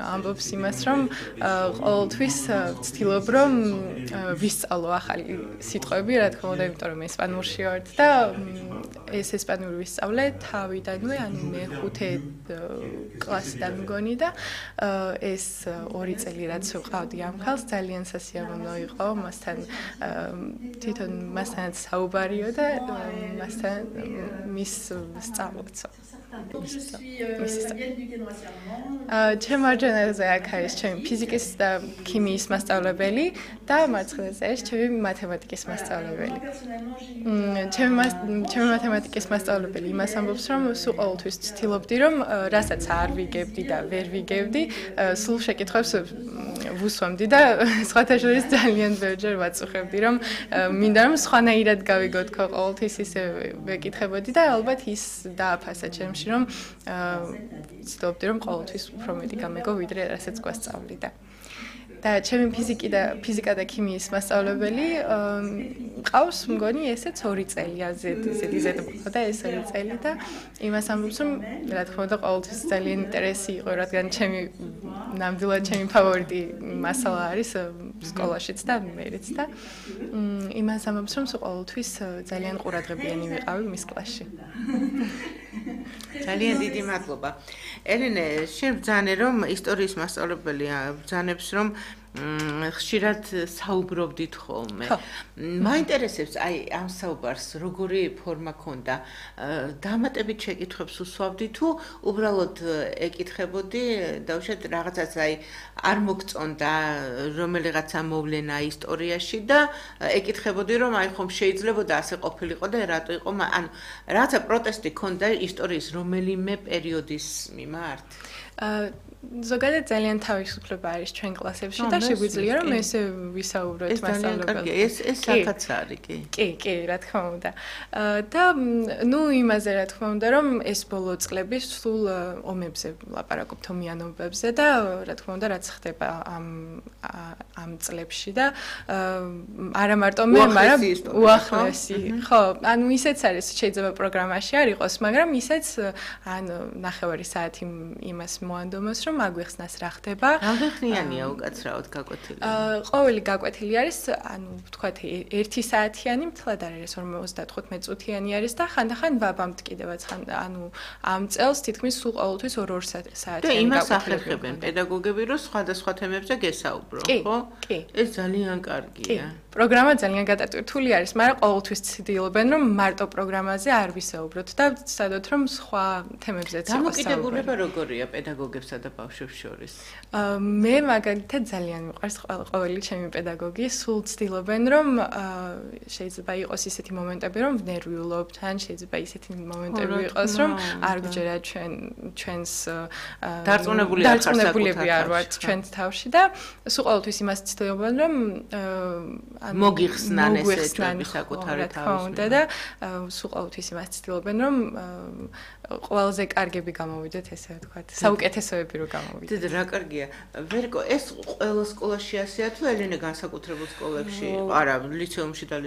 ამბობს იმას, რომ ყოველთვის ვცდილობ, რომ ვისწავლო ახალი სიტყვები, რა თქმა უნდა, იმიტომ რომ ესპანურში ვარ და ეს ესპანური ვისწავლე თავიდანვე, ანუ მე-5 კლასიდან მგონი და ეს 2 წელი რაც ვყავდი ამ ხალხს, ძალიან სასიამოვნო იყო, მასთან თვითონ მასთანაც საუბარიო და მასთან მის სწავლობцо. ჩემ მარჯვენაზე აქ არის ჩემი ფიზიკის და ქიმიის მასწავლებელი და მარცხენაზე არის ჩემი მათემატიკის მასწავლებელი. ჩემი მათემატიკის მასწავლებელი იმას ამბობს, რომ სულ ყოველთვის ვცდილობდი, რომ რასაც არ ვიგებდი და ვერ ვიგებდი, სულ შეკითხვებს ვუსვამდი და სხვათა შორის ძალიან ბევრჯერ ვაწუხებდი, რომ მინდა რომ სხვანაირად გავიგო თქო ყოველთვის ისე ვეკითხებოდი და ალბათ ის დააფასა ჩემში, რომ ვცდილობდი, რომ ყოველთვის უფრო მეტი გამეგო, ვიდრე რასაც გვასწავლიდა. და ჩემი ფიზიკა და ქიმიის მასწავლებელი ყავს მგონი ესეც 2 წელი ზედ და ეს 2 წელი და იმას ამბობს რომ რა თქმა უნდა ყოველთვის ძალიან ინტერესი იყო რადგან ნამდვილად ჩემი ფავორიტი მასალა არის სკოლაშიც და მერეც და იმას ამბობს რომ ყოველთვის ძალიან ყურადღებიანი ვიყავი მის კლასში. ძალიან დიდი მადლობა. ელენე, შენ ბრძანე რომ ისტორიის მასწავლებელი ბრძანებს რომ ხშირად საუბრობდით ხოლმე. მაინტერესებს აი ამ საუბარს როგორი ფორმა ქონდა? დამატებით შეკითხვებს უსვავდი თუ უბრალოდ ეკითხებოდი და უშუალოდ რაღაცას აი არ მოგწონდა რომელიღაცა მოვლენა ისტორიაში და ეკითხებოდი რომ აი ხომ შეიძლებოდა ასე ყოფილიყო და რატო იყო ანუ რაღაცა პროტესტი ქონდა ისტორიის რომელიმე პერიოდის მიმართ? ზოგადად ძალიან თავისუფლება არის ჩვენ კლასებში და შეგვიძლია რომ ესე ვისაუბროთ მასწავლებელთან. ეს საკაც არის კი. კი, რა თქმა უნდა. და იმაზე რა თქმა უნდა რომ ეს ბოლო წლები სულ ომებზე ლაპარაკობთ ომიანობებზე და რა თქმა უნდა რაც ხდება ამ წლებში და არა მარტო მე, მაგრამ უახლესი. ხო, ანუ ისეც არის შეიძლება პროგრამაში არ იყოს, მაგრამ ისეც ნახევარი საათი იმას მოანდომოს რომ აგვიხსნას რა ხდება. რამდენხნიანია უკაცრავად გაკვეთილი? ყოველი გაკვეთილი არის, ანუ ვთქვათ 1 საათიანი, მთლად არ არის 55 წუთიანი არის და ხანდახან ვაბამთ კიდევაც ანუ ამ წელს თითქმის სულ ყოველთვის 2 საათიანი გაკვეთილი. და იმას ახერხებენ პედაგოგები, რომ სხვადასხვა თემებზე გესაუბრო, ხო? კი. ეს ძალიან კარგია. პროგრამა ძალიან გადატვირთული არის, მაგრამ ყოველთვის ცდილობენ რომ მარტო პროგრამაზე არ ვისაუბროთ და ვცადოთ რომ სხვა თემებზეც იყოს საუბარი. დამოკიდებულება როგორია პედაგოგებსა და ბავშვებს შორის? მე მაგალითად ძალიან მიყვარს ყოველი ჩემი პედაგოგი, სულ ცდილობენ რომ შეიძლება იყოს ისეთი მომენტები რომ ვნერვიულობთ, ან შეიძლება ისეთი მომენტები იყოს რომ არ გვჯერა ჩვენს დარწმუნებულები არ ვართ ჩვენს თავში და სულ ყოველთვის იმას ცდილობენ რომ მოგიხსნან ესეთი საკუთარი თავის და სულ ყოველთვის იმას ცდილობენ რომ ყველაზე კარგები გამოვიდეთ ესე ვთქვათ, საუკეთესოები რომ გამოვიდეთ. დიდი რა კარგია. ვერკო, ეს ყველა სკოლაში ასეა თუ ელენე განსაკუთრებულ სკოლებში? არა, ლიცეუმში და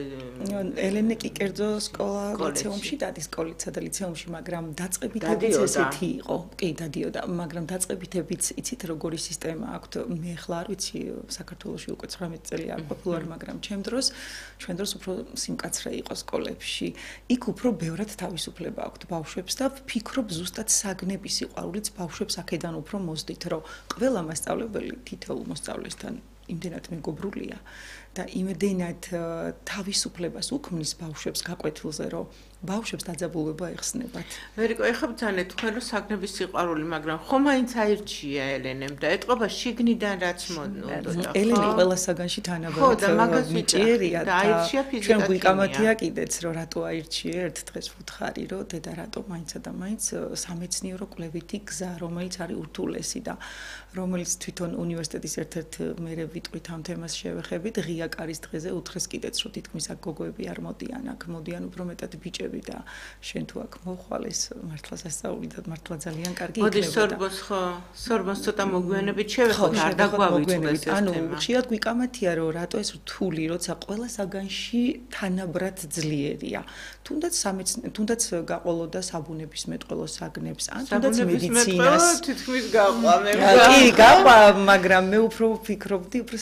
ელენე კი კერძო სკოლა ლიცეუმში დადის სკოლისა და ლიცეუმში, მაგრამ დაწყებითებიც ესეთი იყო. კი, დადიოდა, მაგრამ დაწყებითებიც იცით როგორი სისტემა აქვთ. მე ახლა არ ვიცი საქართველოში უკვე 19 წელი არ პოპულარი, მაგრამ ჩვენ დროს უფრო სიმკაცრე იყო სკოლებში. იქ უფრო ბევრად თავისუფლება აქვთ ბავშვებს და ვფიქრობ ზუსტად საგნების სიყვარულიც ბავშვებს აქედან უფრო მოსდით, რომ ყველა მასწავლებელი თითოეულ მოსწავლესთან იმდენად მეგობრულია და იმდენად თავისუფლებას უქმნის ბავშვებს გაკვეთილზე, რომ ბავშვებს დაძაბულობა ეხსნებათ. ვერიკო, ეხლა ბძანეთ თქვენ რომ საგნების სიყვარული, მაგრამ ხომ მაინც აირჩია ელენემ და ეთყობა შიგნიდან რაც მონდოდა. ელენე ყველა საგანში თანაბრად მიჭიერია და აირჩია ფიზიკა. ჩვენ გვიკამათია კიდეც რომ რატო აირჩია ერთ დღეს ვუთხარი რომ დედა რატო მაინცა და მაინც სამეცნიერო კვლევითი გზა, რომელიც არის ურთულესი და რომელიც თვითონ უნივერსიტეტის ერთ-ერთ მერე ვიტყვით ამ თემას შევეხებით, ღია კარის დღეზე უთხრეს კიდეც რომ თითქმის აქ გოგოები არ მოდიან, აქ მოდიან უფრო მეტად ბიჭები და შენ თუ აქ მოხვალეს მართლა სასწაული და მართლა ძალიან კარგი იქნება. მოდი სორბოს ხო, სორბოს ცოტა მოგვიანებით შევეხოთ, არ დაგვავიწყდეს ეს თემა. ანუ ხშირად გვიკამათია რომ რატო ეს რთული, როცა ყველა საგანში თანაბრად ძლიერია. თუნდაც გაყოლოდა საბუნების მეტყველო საგნებს, ან თუნდაც მედიცინას. თითქმის გაყვამე. კი, გაყვა, მაგრამ მე უფრო ვფიქრობდი, უფრო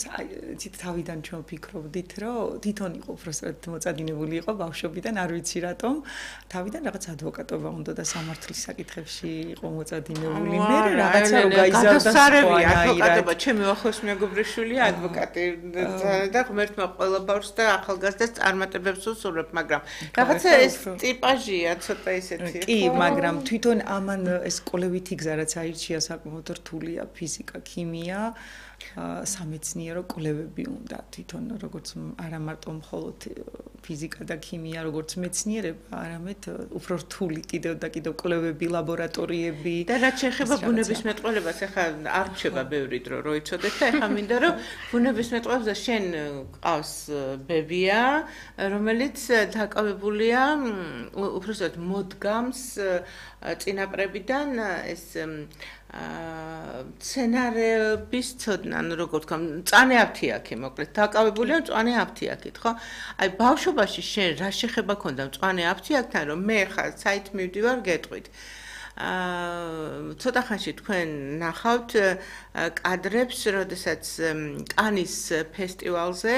თავიდან ჩვენ ვფიქრობდით, რომ თვითონ იყო უბრალოდ მოწადინებული იყო ბავშვობიდან, არ ვიცი რატომ, თავიდან რაღაც ადვოკატობა უნდა და სამართლის საკითხებში იყო მოწადინებული. მე რაღაცა რო გაიზარდა სარევია ადვოკატობა, ჩემი ახლოს მეგობრიშვილია ადვოკატი და ღმერთმა ყველა ბავშვს და ახალგაზრდას წარმატებებს უსურვებ, მაგრამ რაღაცა ეს ტიპაჟია ცოტა ისეთი. კი, მაგრამ თვითონ ამან ეს კოლევითი გზა რაც აირჩია საკმაოდ რთულია, ფიზიკა, ქიმია, სამეცნიერო კვლევები უნდა თვითონ როგორც არა მარტო მხოლოდ ფიზიკა და ქიმია როგორც მეცნიერება, არამედ უფრო რთული კიდევ და კიდევ კვლევები, ლაბორატორიები და რაც შეეხება ბუნების მეტყველებას, ახლა არ რჩება ბევრი დრო რო იცოდეთ და ახლა მინდა რომ ბუნების მეტყველებზე შენ ყავს ბებია, რომელიც დაკავებულია უბრალოდ მოდგამს წინაპრებიდან ეს სცენარების ცოდნა, ანუ როგორც ვთქვა, მწვანე აფთიაქი, მოკლედ, დაკავებულია მწვანე აფთიაქით, ხო? აი, ბავშვობაში შენ რა შეხება ქონდა მწვანე აფთიაქთან, რომ მე ხა საით მივდივარ გეტყვით. ცოტა ხანში თქვენ ნახავთ კადრებს, როდესაც კანის ფესტივალზე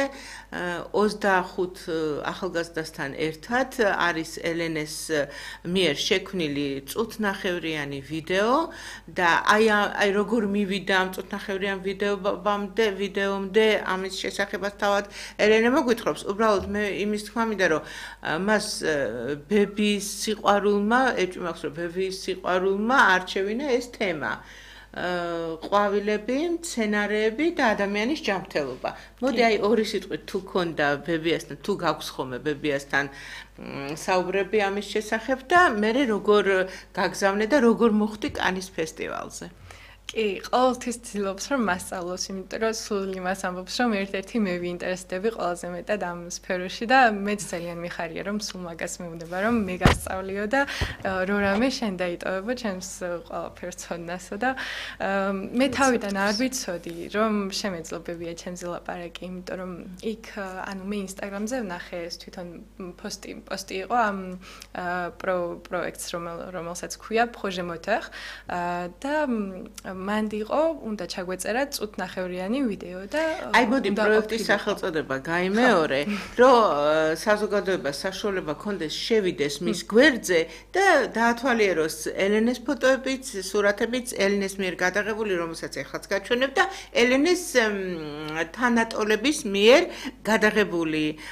25 ახალგაზრდასთან ერთად არის ელენეს მიერ შექმნილი წუთნახევრიანი ვიდეო და აი როგორ მივიდა ამ წუთნახევრიან ვიდეომდე ამის შესახებაც თავად ელენე მოგვითხრობს. უბრალოდ მე იმის თქმა მინდა რომ მას ბების სიყვარულმა, ეჭვმახს რომ ბების სიყვარულმა არჩევინა ეს თემა. ყვავილები, მცენარეები და ადამიანის ჯანმრთელობა. მოდი აი ორი სიტყვით თუ ქონდა ბებიასთან, თუ გაქვს ხოლმე ბებიასთან საუბრები ამის შესახებ და მე როგორ გაგზავნე და როგორ მოხვდი კანის ფესტივალზე. კი, ყოველთვის ცდილობს რომ მასწავლოს, იმიტომ რომ სულ იმას ამბობს, რომ ერთ-ერთი მე ვინტერესდები ყველაზე მეტად ამ სფეროში და მეც ძალიან მიხარია, რომ სულ მაგას მეუბნება, რომ მე გასწავლიო და რო რამე შენ დაიტოვებო ჩემს ყველაფერს ცოდნასო და მე თავიდან არ ვიცოდი, რომ შემეძლობებია ჩემზე ლაპარაკი, იმიტომ რომ იქ ანუ მე ინსტაგრამზე ვნახე ეს თვითონ პოსტი იყო ამ პროექტს, რომელსაც ქვია Projet Moteur და მანდი იყო, უნდა ჩაგვეწერა წუთნახევრიანი ვიდეო და აი მოდი პროექტის სახელწოდება გაიმეორე, რომ საზოგადოებას საშუალება ქონდეს შევიდეს მის გვერდზე და დაათვალიეროს ელენეს ფოტოებიც, სურათებიც, ელენეს მიერ გადაღებული, რომელსაც ეხლაც გაჩვენებ და ელენეს თანატოლების მიერ გადაღებული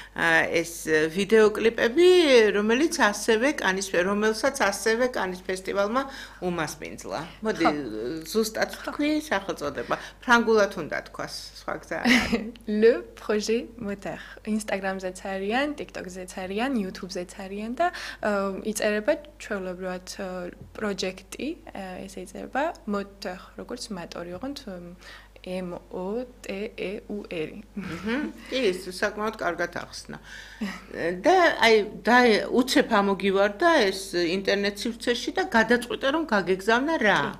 ეს ვიდეოკლიპები, რომელსაც ასევე კანის ფესტივალმა უმასპინძლა. მოდი ზუსტად თქვი სახელწოდება. ფრანგულად უნდა თქვას, სხვა გზა არ არის. Le Projet Moteur. Instagram-ზეც არიან, TikTok-ზეც არიან, YouTube-ზეც არიან და იწერება ჩვეულებრივად პროექტი, ესე იწერება Moteur, როგორც მოტორი, ოღონდ MOTEUR. კი, ეს საკმაოდ კარგად ახსნა. და აი უცებ ამოგივარდა ეს ინტერნეტ სივრცეში და გადაწყვიტე რომ გაგეგზავნა რა?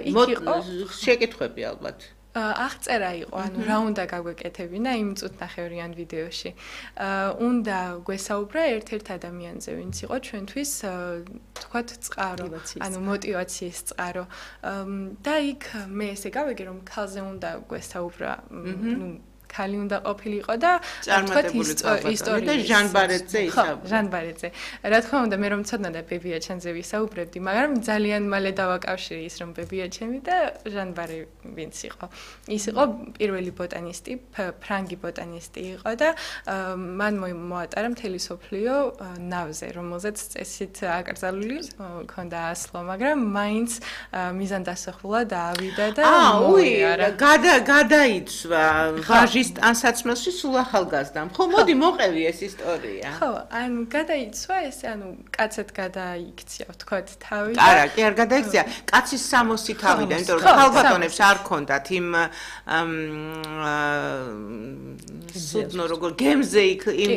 იქ იყო შეკითხვები ალბათ. აღწერა იყო, ანუ რა უნდა გაგვეკეთებინა იმ წუთნახევრიან ვიდეოში. უნდა გვესაუბრა ერთ-ერთ ადამიანზე, ვინც იყო ჩვენთვის თქვათ წყარო, ანუ мотиваციის წყარო. და იქ მე ესე გავიგე რომ ქალზე უნდა გვესაუბრა, ქალი უნდა ყოფილიყო და თქვათ ისტორია და ჟან ბარეტზე ისაუბრა. ჟან ბარეტზე. რა თქმა უნდა, მე რომ ცოდნა ბებია ჩემზე ვისაუბრებდი, მაგრამ ძალიან მალე დავაკავშირე ის რომ ბებია ჩემი და ჟან ბარე ვინც იყო. ის იყო პირველი ბოტანისტი, ფრანგი ბოტანისტი იყო და მან მოატარა მთელი სოფლიო ნავზე, რომელზეც წესით აკრძალული ქონდა ასლო, მაგრამ მაინც მიზანდასახულად ავიდა და გადაიცვა ვაჟის ის ან საცმელში სულ ახალგაზრდამ. ხო, მოდი მოყევი ეს ისტორია. ხო, ანუ გადაიცვა ეს, ანუ კაცად გადაიქცია, ვთქვათ, თავი. არა, კი არ გადაიქცია. კაცის 60 თავიდან, იმიტომ რომ ხალბატონებს არ ქონდათ იმ სუდნო როგორ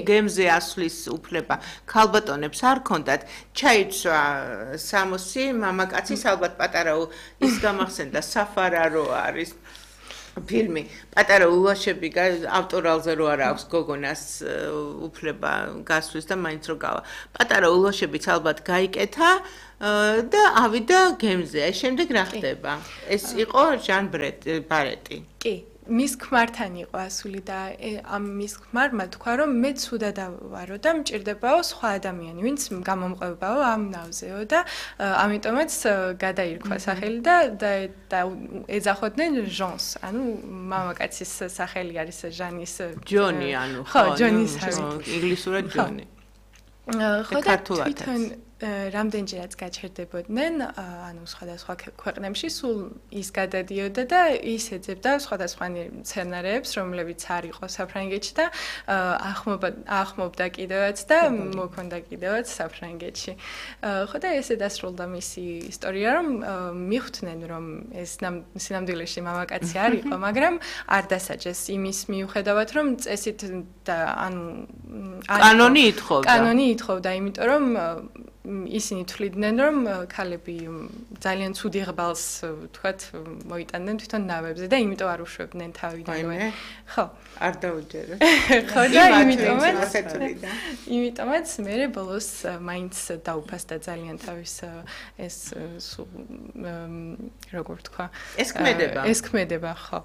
გემზე ასვლის უფლება. ხალბატონებს არ ქონდათ. ჩაიცვა 60 მამაკაცის ალბათ პატარა ის გამახსენდა საფარა რო არის ფილმი პატარა ულაშები ავტორალზე რო არა აქვს გოგონას უფლება გასვლის და მაინც რო გავა პატარა ულაშებიც ალბათ გაიკეთა და ავიდა გემზე აი შემდეგ რა ხდება ეს იყო ჟან ბარეტი კი მის ქმართან იყო ასული და ამ მის ქმარმა თქვა რომ მე ცუდად ვარო და მჭირდებაო სხვა ადამიანი ვინც გამომყვებაო ამ ნავზეო და ამიტომაც გადაირქვა სახელი და ეძახოდნენ ჟონს ანუ მამაკაცის სახელი არის ჟანის ჯონი ანუ ხო ჯონის ინგლისურად ჯონი ხო და თვითონ რამდენჯერაც გაჩერდებოდნენ ანუ სხვადასხვა ქვეყნებში სულ ის გადადიოდა და ის ეძებდა სხვადასხვა სცენარებს რომლებიც არ იყო საფრანგეთში და ახმობდა კიდევაც და მოქონდა კიდევაც საფრანგეთში ხო და ესე დასრულდა მისი ისტორია რომ მიხვდნენ რომ ეს სინამდვილეში მამაკაცი არ იყო მაგრამ არ დასაჯეს იმის მიუხედავად რომ წესით და ანუ კანონი ითხოვდა იმიტომ რომ ისინი თვლიდნენ რომ ქალები ძალიან ცუდი ღბალს თქვათ მოიტანდნენ თვითონ ნავებზე და იმიტომ არ უშვებდნენ თავიდანვე ხო არ დაუჯერე ხო და იმიტომაც მე ბოლოს მაინც დაუფასდა ძალიან თავის ეს როგორ თქვა ეს ქმედება ხო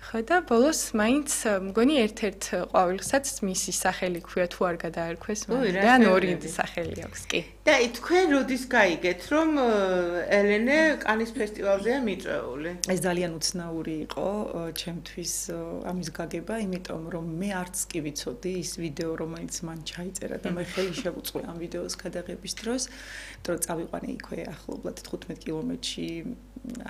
ხო და ბოლოს მაინც მგონი ერთ-ერთ ყვავილსაც მისი სახელი ქვია თუ არ გადაარქვეს და ორი სახელი აქვს კი და თქვენ როდის გაიგეთ რომ ელენე კანის ფესტივალზეა მიწვეული ეს ძალიან უცნაური იყო ჩემთვის ამის გაგება იმიტომ რომ მე არც კი ვიცოდი ის ვიდეო რომელიც მან ჩაიწერა და მე ხელი შევუწყე ამ ვიდეოს გადაღების დროს რომ წავიყვანე იქვე ახლობლად 15 კილომეტრში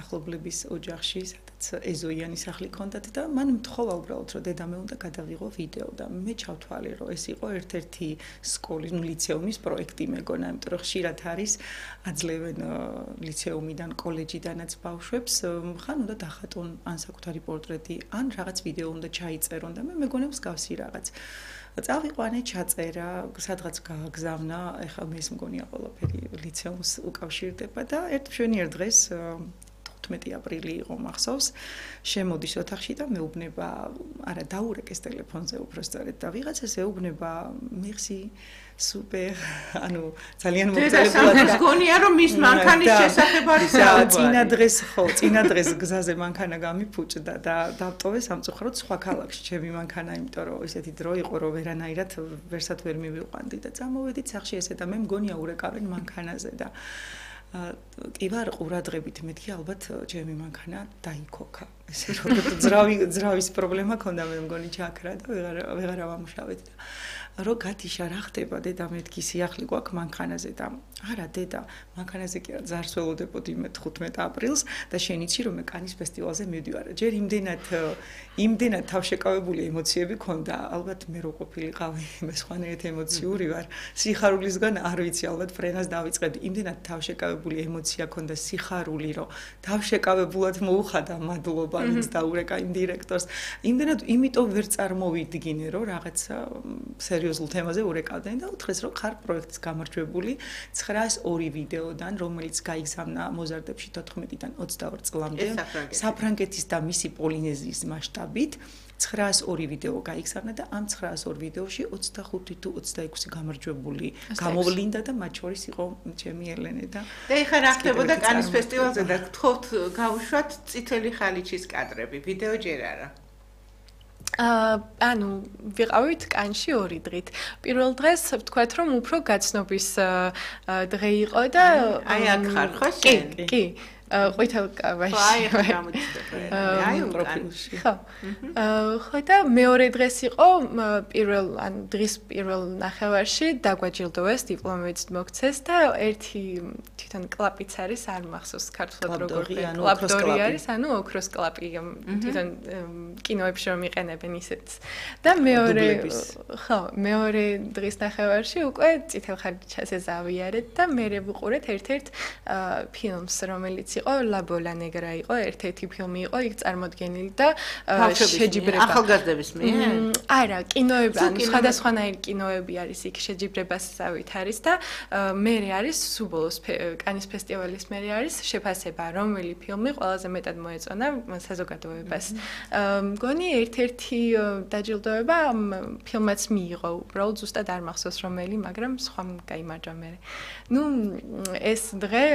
ახლობლების ოჯახში სადაც ეზოიანი სახლი ჰქონდათ და მან მთხოვა უბრალოდ რომ დედა მე უნდა გადავიღო ვიდეო და მე ჩავთვალე რომ ეს იყო ერთ-ერთი სკოლის ლიცეუმის პროექტი მეგონა იმიტომ რომ ხშირად არის აძლევენ ლიცეუმიდან კოლეჯიდანაც ბავშვებს ხან უნდა დახატონ ან საკუთარი პორტრეტი ან რაღაც ვიდეო უნდა ჩაიწერონ და მე მეგონა მსგავსი რაღაც წავიყვანე ჩაწერა სადღაც გააგზავნა ეხლა მე ეს მგონია ყველაფერი ლიცეუმს უკავშირდება და ერთ მშვენიერ დღეს 15 აპრილი იყო მახსოვს შემოდის ოთახში და მეუბნება არა დაურეკეს ტელეფონზე უბრალოდ და ვიღაცას ეუბნება მიხსი სუპერ ანუ ძალიან მოგწელებული გონია რომ მის მანქანის შესახებ არის საუბარი წინა დღეს გზაზე მანქანა გამიფუჭდა და დავტოვე სამწუხაროდ სხვა ქალაქში ჩემი მანქანა იმიტომ რომ ესეთი დრო იყო რომ ვერანაირად ვერსად ვერ მივიყვანდი და წამოვედით სახში ესე და მე მგონია ურეკავენ მანქანაზე და კი ვარ ყურადღებით მეთქი ალბათ ჩემი მანქანა დაიქოქა ესე რომ ძრავის პრობლემა ქონდა მე მგონი ჩაქრა და ვეღარ ავამუშავეთ და რო გათიშა რა ხდება დედა მეთქი სიახლე გვაქვს მანქანაზე და არა დედა მანქანაზე კი არა ზარს ველოდებოდი მე 15 აპრილს და შენიცი რომ მე კანის ფესტივალზე მივდივარ ჯერ იმდენად თავშეკავებული ემოციები ქონდა ალბათ მე რო ყოფილიყავი მე სხვანაირად ემოციური ვარ სიხარულისგან არ ვიცი ალბათ ფრენას დავიწყებდი იმდენად თავშეკავებული ემოცია ქონდა სიხარული რომ თავშეკავებულად მოუხადა მადლობა ვინც დაურეკა იმ დირექტორს იმდენად იმიტომ ვერ წარმოვიდგინე რომ რაღაცა სერიოზულ თემაზე ურეკავდნენ და უთხრეს რომ ხარ პროექტის გამარჯვებული 902 ვიდეოდან რომელიც გაიგზავნა მოზარდებში 14-დან 22 წლამდე საფრანგეთის და მისი პოლინეზიის მასშტაბით 902 ვიდეო გაიგზავნა და ამ 902 ვიდეოში 25 თუ 26 გამარჯვებული გამოვლინდა და მათ შორის იყო ჩემი ელენე და ეხლა რა ხდებოდა კანის ფესტივალზე და გთხოვთ გავუშვათ წითელი ხალიჩის კადრები ვიდეო ჯერ არა ანუ ვიყავით კანში 2 დღით. პირველ დღეს ვთქვათ რომ უფრო გაცნობის დღე იყო და აი აქ ხარ ხო შენ? კი. ყვითელ კავაში. აი, ახლა გამოჩნდა. აი, პროფილში. ხო. ხო და მეორე დღეს იყო დღის პირველ ნახევარში დაგვაჯილდოვეს, დიპლომით მოგცეს და ერთი თვითონ კლაპიც არის, არ მახსოვს ქართულად როგორ კლაპდორი არის, ანუ ოქროს კლაპი თვითონ კინოებში რომ იყენებენ ისეთ. და მეორე დღის ნახევარში უკვე წითელ ხარჯას ეზავიარეთ და მე ვუყურეთ ერთ-ერთ ფილმს, რომელიც იყო ლაბოლა ნეგრა იყო, ერთ-ერთი ფილმი იყო, იქ წარმოდგენილი და შეჯიბრება. ახალგაზრდების მიერ? არა, კინოები, ანუ სხვადასხვანაირი კინოები არის იქ შეჯიბრებასავით არის და მერე არის სუბოლოს კანის ფესტივალის მერე არის შეფასება, რომელი ფილმი ყველაზე მეტად მოეწონა საზოგადოებას. მგონი ერთ-ერთი დაჯილდოება ფილმაც მიიღო, უბრალოდ ზუსტად არ მახსოვს რომელი, მაგრამ სხვა გაიმარჯვა მერე. ნუ ეს დღე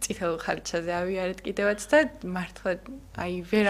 წითელ ხარჯაზე ავიარეთ კიდევაც და მართლა აი ვერ